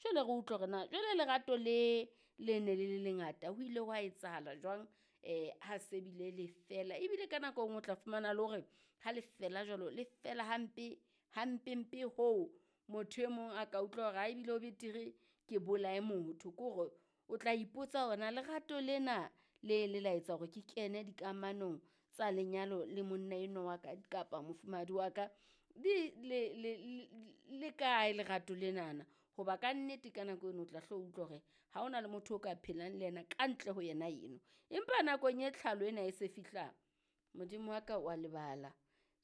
Jwale re utlwe hore na jwale lerato le le ne le le lengata ho ile hwa etsahala jwang ha se bile le fela. Ebile ka nako e nngwe o tla fumana le hore ha le fela jwalo le fela hampe hampempe hoo motho e mong a ka utlwa hore ha ebile ho betere ke bolaye motho. Ke hore o tla ipotsa hore na lerato lena le le la etsa hore ke kene dikamanong tsa lenyalo le monna enwa wa ka kapa mofumahadi wa ka di le le le kae lerato lenana. Hoba kannete ka nako eno o tla hlo utlwa hore ha hona le motho o ka phelang le yena ka ntle ho yena eno. Empa nakong e tlhalo ena e se fihla, Modimo wa ka wa lebala.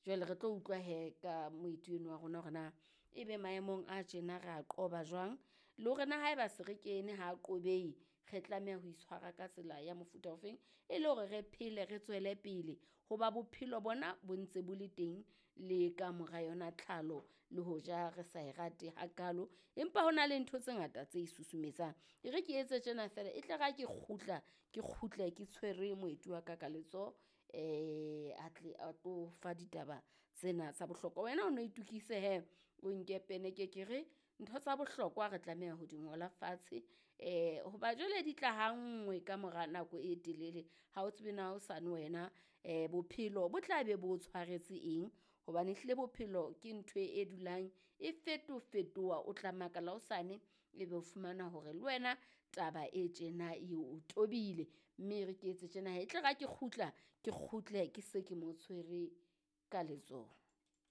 Jwale re tlo utlwa hee ka moeti eno wa rona hore na ebe maemong a tjena re a qoba jwang, le hore na haeba se re kene ha qobehe, re tlameha ho itshwara ka tsela ya mofuta ofeng e le hore re phele re tswele pele. Hoba bophelo bona bo ntse bo le teng le ka mora yona tlhalo le hoja re sa e rate hakalo, empa ho na le ntho tse ngata tse e susumetsang. E re ke etse tjena feela e tle re ha ke kgutla, ke kgutle ke tshwere moeti wa ka ka letsoho a tle a tlo fa ditaba tsena tsa bohlokwa. Wena o no itokise hee o nke pene ke ke re ntho tsa bohlokwa re tlameha ho di ngola fatshe hoba jwale di tla ha nngwe ka mora nako e telele. Ha o tsebe na hosane wena bophelo bo tla be bo o tshwaretse eng, hobane ehlile bophelo ke ntho e dulang e fetofetoha. O tla makala hosane ebe o fumana hore le wena taba e tjena e o tobile, mme e re ke etse tjena hee e tle re ha ke kgutla, ke kgutle ke se ke mo tshwere ka letsoho.